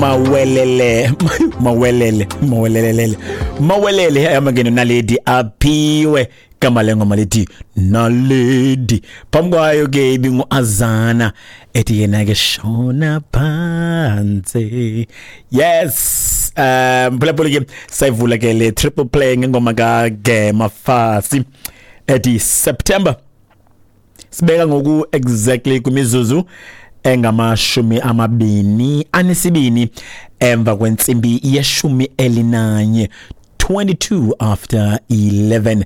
Mawelele, mawelele, mawelelele, mawelele amangeno Naledi Aphiwe. Igama lengoma lithi Naledi. Phambi kwayo ke ibingu-Azana ethi yena ke shona phansi. Yes, phulaphula ke, sayivula ke le triple play ngengoma kaGema Fasi ethi September. Sibeka ngoku exactly kwimizuzu engamashumi 22 emva kwentsimbi ye-11, 22 after 11.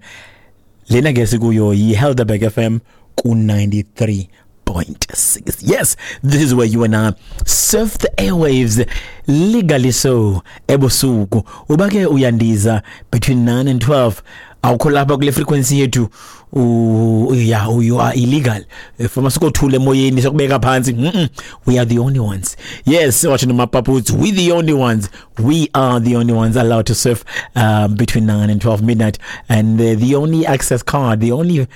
Lena ke sikuyo yi-Helderberg FM ku-93.6. Yes, this is where you and I surf the airwaves legally. So ebusuku uba ke uyandiza between 9 and 12, awukho lapha kule frequency yethu, yeah, you are illegal. Fama sikothula emoyeni, sokubeka phansi. We are the only ones. Yes, watching the mapaputs, we the only ones, we are the only ones allowed to surf between 9 and 12 midnight, and the only access card, the only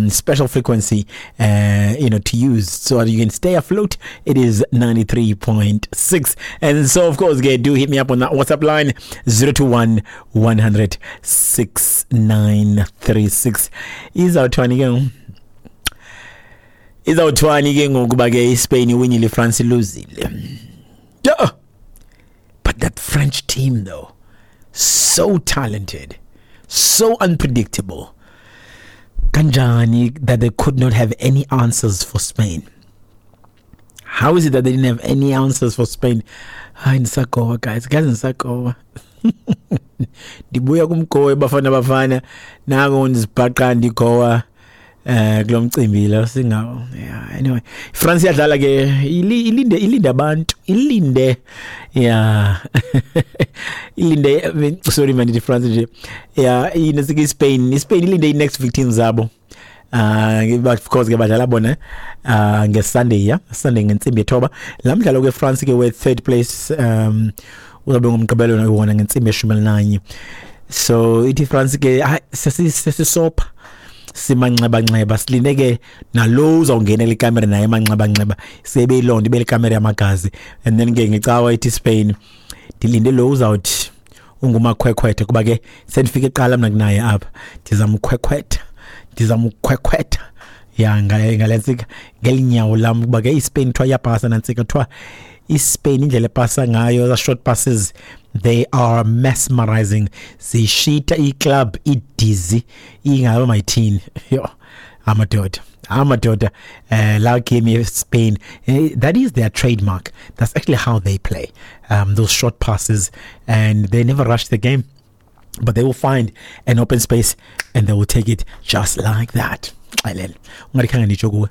special frequency to use so that you can stay afloat, it is 93.6. And so of course, okay, do hit me up on that WhatsApp line, 021 100 6936. Izawuthwani ke ngoku? Izawuthwani ke ngokuba ke iSpain iwinile, iFrance iluzile? Yeah, but that French team though, so talented, so unpredictable. Kanjani that they could not have any answers for Spain? How is it that they didn't have any answers for Spain? Hayi, ndisagowa guys, guys, ndisagowa, ndibuya kumgowe Bafana Bafana, nako ndizibhaqa ndigowa kulo mcimbi lo singawo. Yeah, anyway, France iyadlala ke, ilinde, ilinde abantu, ilinde, yeah, ilinde. Sorry man, ndithi France nje. Yeah, inesike iSpain, iSpain ilinde i-next victims zabo. But of course ke badlala bona ngeSunday, yeah, Sunday ngentsimbi yethoba. La mdlalo ke France ke we third place uzabe ngomgqibelo wona ngentsimbi ye-11. So ithi France ke hayi, sesisopha, simanxeba-nxeba, silinde ke nalo uzawungenela ikamera naye emanxeba-nxeba, sebe ilonto ibe likamera yamagazi. And then ke ngecawa ithi Spain, ndilinde lo uzawuthi ungumakhwekhwethe, kuba ke sendifike kuqala mna kunaye apha, ndizamkhwekhwetha, ndizamkhwekhwetha ya ngale ntsika ngelinyawo lam, kuba ke iSpain kuthiwa iyapasa nantsika. Kuthiwa iSpain indlela epasa ngayo, the short passes, they are mesmerizing, zishita iclub idizi ingaba mayithini. Yo, amadoda, amadoda, la game yeSpain, that is their trademark. That's actually how they play, those short passes, and they never rush the game, but they will find an open space and they will take it just like that. Xelele ungathi khange nditsho kuwe.